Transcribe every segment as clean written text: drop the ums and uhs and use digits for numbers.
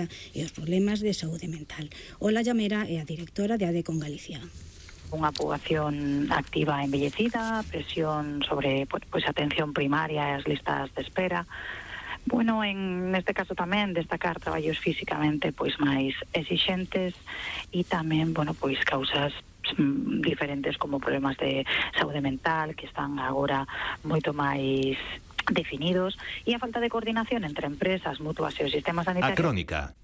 e os problemas de saúde mental. Ola Llamera é a directora de ADECON Galicia. Unha poboación activa envellecida, presión sobre atención primaria e as listas de espera. Bueno, neste caso tamén destacar traballos físicamente máis exixentes e tamén, causas diferentes como problemas de saúde mental que están agora moito máis definidos e a falta de coordinación entre empresas, mutuas e o sistema sanitario. A Crónica.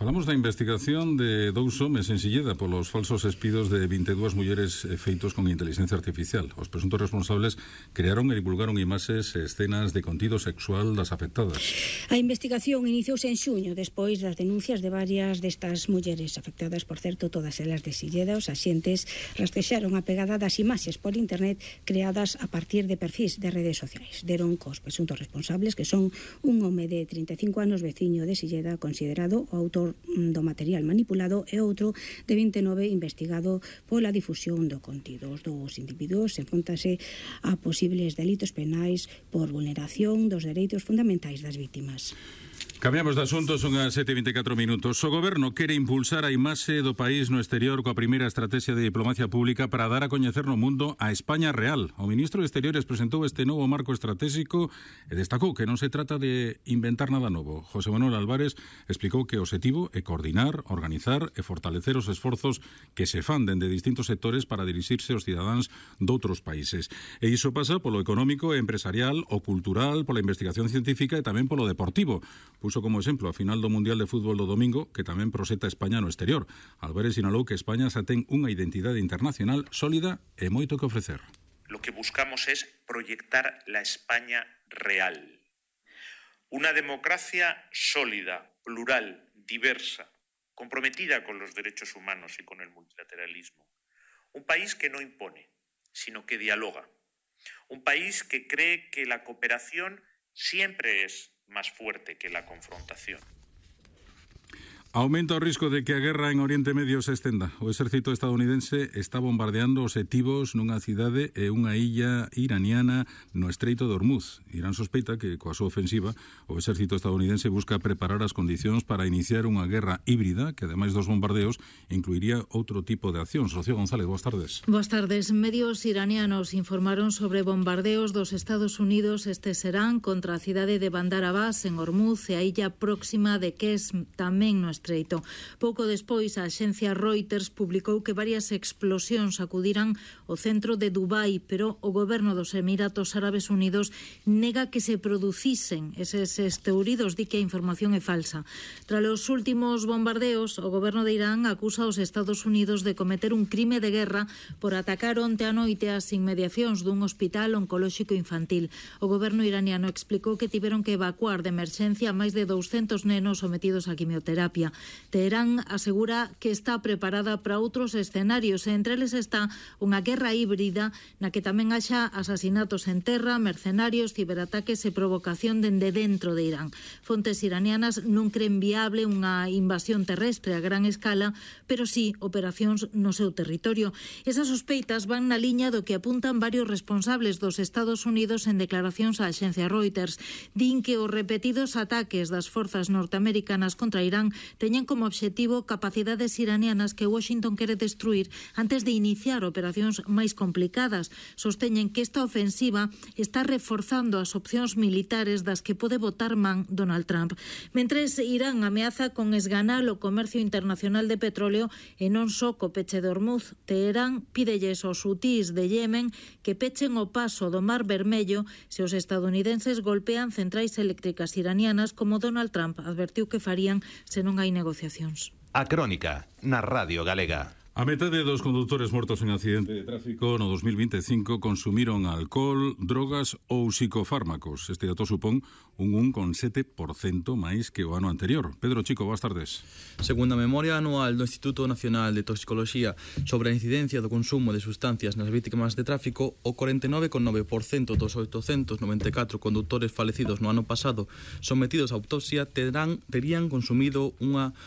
Falamos da investigación de 2 homes en Silleda polos falsos espidos de 22 mulleres feitos con inteligencia artificial. Os presuntos responsables crearon e divulgaron imaxes e escenas de contido sexual das afectadas. A investigación iniciouse en xuño despois das denuncias de varias destas mulleres afectadas, por certo, todas elas de Silleda. Os axentes rastrexaron a pegada das imaxes por internet creadas a partir de perfis de redes sociais. Deron cos presuntos responsables, que son un home de 35 anos veciño de Silleda, considerado o autor do material manipulado, e outro de 29 investigado pola difusión do contido. Os dous individuos enfróntanse a posibles delitos penais por vulneración dos dereitos fundamentais das vítimas. Cambiamos de asunto, son as 7:24 minutos. O Goberno quere impulsar a imaxe do país no exterior coa primeira estrategia de diplomacia pública para dar a coñecer no mundo a España real. O ministro de Exteriores presentou este novo marco estratégico e destacou que non se trata de inventar nada novo. José Manuel Álvarez explicou que o obxectivo é coordinar, organizar e fortalecer os esforzos que se fan dende distintos sectores para dirixirse aos cidadáns doutros países. E iso pasa polo económico e empresarial, o cultural, pola investigación científica e tamén polo deportivo. Puso como exemplo a final do Mundial de Fútbol do domingo, que tamén proseta España no exterior. Álvarez sinalou que España xa ten unha identidade internacional sólida e moito que ofrecer. Lo que buscamos es proyectar la España real. Una democracia sólida, plural, diversa, comprometida con los derechos humanos y con el multilateralismo. Un país que no impone, sino que dialoga. Un país que cree que la cooperación siempre es más fuerte que la confrontación. Aumenta o risco de que a guerra en Oriente Medio se estenda. O exército estadounidense está bombardeando obxectivos nunha cidade e unha illa iraniana no Estreito de Hormuz. Irán sospeita que, coa súa ofensiva, o exército estadounidense busca preparar as condicións para iniciar unha guerra híbrida que, ademais dos bombardeos, incluiría outro tipo de accións. Rocío González, boas tardes. Boas tardes. Medios iranianos informaron sobre bombardeos dos Estados Unidos este serán contra a cidade de Bandar Abbas en Hormuz e a illa próxima de Qesm, tamén no Estreito. Pouco despois, a axencia Reuters publicou que varias explosións sacudiran o centro de Dubai, pero o goberno dos Emiratos Árabes Unidos nega que se producisen eses estouridos, di que a información é falsa. Tras os últimos bombardeos, o goberno de Irán acusa aos Estados Unidos de cometer un crime de guerra por atacar onte a noite as inmediacións dun hospital oncolóxico infantil. O goberno iraniano explicou que tiveron que evacuar de emerxencia máis de 200 nenos sometidos a quimioterapia. Teherán asegura que está preparada para outros escenarios e entre eles está unha guerra híbrida na que tamén haxa asasinatos en terra, mercenarios, ciberataques e provocación dende dentro de Irán. Fontes iranianas non creen viable unha invasión terrestre a gran escala, pero sí operacións no seu territorio. Esas sospeitas van na liña do que apuntan varios responsables dos Estados Unidos en declaracións á axencia Reuters. Din que os repetidos ataques das forzas norteamericanas contra Irán teñen como obxectivo capacidades iranianas que Washington quere destruir antes de iniciar operacións máis complicadas. Sosteñen que esta ofensiva está reforzando as opcións militares das que pode botar man Donald Trump. Mentres, Irán ameaza con esganar o comercio internacional de petróleo e non só co peche de Hormuz. Teherán pídelles aos hutís de Yemen que pechen o paso do Mar Vermello se os estadounidenses golpean centrais eléctricas iranianas, como Donald Trump advertiu que farían se non hai negociacións. A Crónica, na Radio Galega. A metade dos condutores mortos en accidente de tráfico no 2025 consumiron alcohol, drogas ou psicofármacos. Este dato supón un 1,7% máis que o ano anterior. Pedro Chico, boas tardes. Segundo a memoria anual do Instituto Nacional de Toxicoloxía sobre a incidencia do consumo de sustancias nas vítimas de tráfico, o 49,9% dos 894 condutores falecidos no ano pasado sometidos a autopsia terían consumido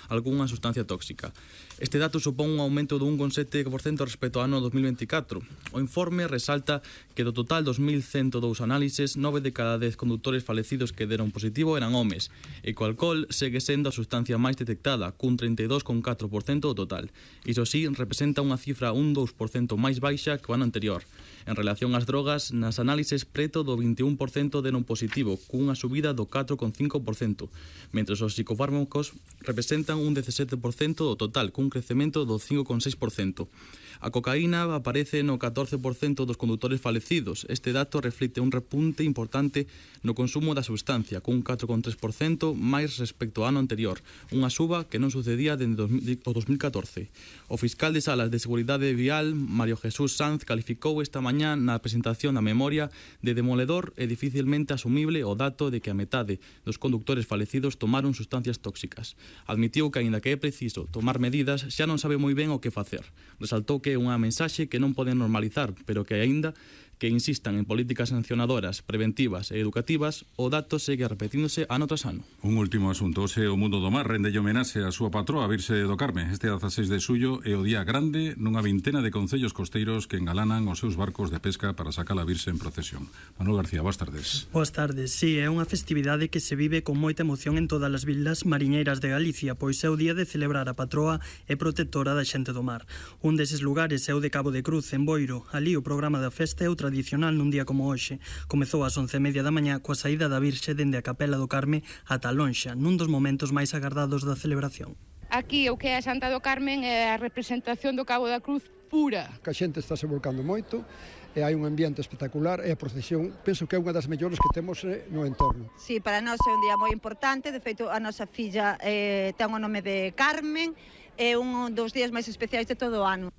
algunha sustancia tóxica. Este dato supón un aumento do 1,7% respecto ao ano 2024. O informe resalta que do total 2.102 análises, 9 de cada 10 condutores falecidos que que deron positivo eran homes, e co alcohol segue sendo a sustancia máis detectada, cun 32,4% do total. Iso sí, representa unha cifra un 2% máis baixa que o ano anterior. En relación ás drogas, nas análises preto do 21% deron positivo, cunha subida do 4,5%, mentres os psicofármacos representan un 17% do total, cun crecemento do 5,6%. A cocaína aparece no 14% dos condutores falecidos. Este dato reflicte un repunte importante no consumo da sustancia, cun 4,3% máis respecto ao ano anterior, unha suba que non sucedía dende o 2014. O fiscal de Salas de Seguridade Vial, Mario Jesús Sanz, calificou esta mañá na presentación da memoria de demoledor e dificilmente asumible o dato de que a metade dos condutores falecidos tomaron sustancias tóxicas. Admitiu que, aínda que é preciso tomar medidas, xa non sabe moi ben o que facer. Resaltou que é unha mensaxe que non poden normalizar, pero que aínda que insistan en políticas sancionadoras, preventivas e educativas, o dato segue repetíndose ano tras ano. Un último asunto, ose o Mundo do Mar rendelle homenaxe a súa patroa, Virxe do Carme. Este 16 de xullo é o día grande nunha vintena de concellos costeiros que engalanan os seus barcos de pesca para sacar a Virxe en procesión. Manuel García, boas tardes. Boas tardes, sí, é unha festividade que se vive con moita emoción en todas as vilas mariñeiras de Galicia, pois é o día de celebrar a patroa e protectora da xente do mar. Un deses lugares é o de Cabo de Cruz, en Boiro. Ali o programa da festa é o tradicional nun día como hoxe. Comezou ás 11:30 da mañá coa saída da Virxe dende a Capela do Carme ata a lonxa, nun dos momentos máis agardados da celebración. Aquí o que é a Santa do Carmen é a representación do Cabo da Cruz pura. A xente está se volcando moito, e hai un ambiente espectacular e a procesión penso que é unha das mellores que temos no entorno. Sí, para nós é un día moi importante, de feito a nosa filla ten o nome de Carmen, é un dos días máis especiais de todo o ano.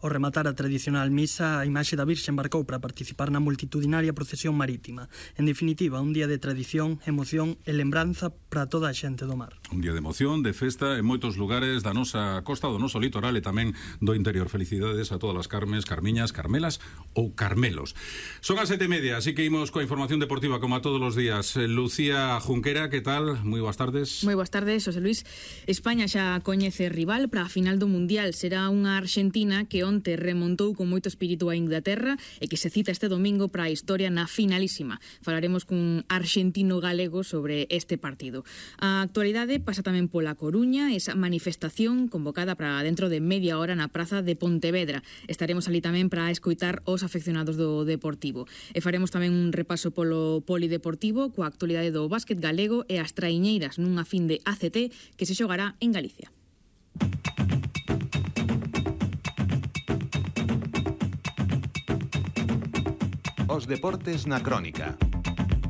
Ao rematar a tradicional misa, a imaxe da Virxe embarcou para participar na multitudinaria procesión marítima. En definitiva, un día de tradición, emoción e lembranza para toda a xente do mar. Un día de emoción, de festa en moitos lugares da nosa costa, do noso litoral e tamén do interior. Felicidades a todas as Carmes, Carmiñas, Carmelas ou Carmelos. Son as 7:30, así que imos coa información deportiva como a todos os días. Lucía Junquera, que tal? Moi boas tardes. Moi boas tardes, José Luis. España xa coñece rival para a final do Mundial. Será unha Argentina que onte remontou con moito espírito a Inglaterra e que se cita este domingo para a historia na finalísima. Falaremos cun argentino galego sobre este partido. A actualidade pasa tamén pola Coruña, esa manifestación convocada para dentro de media hora na praza de Pontevedra. Estaremos ali tamén para escoitar os afeccionados do Deportivo. E faremos tamén un repaso polo polideportivo coa actualidade do básquet galego e as traiñeiras nunha fin de ACT que se xogará en Galicia. Os deportes na crónica.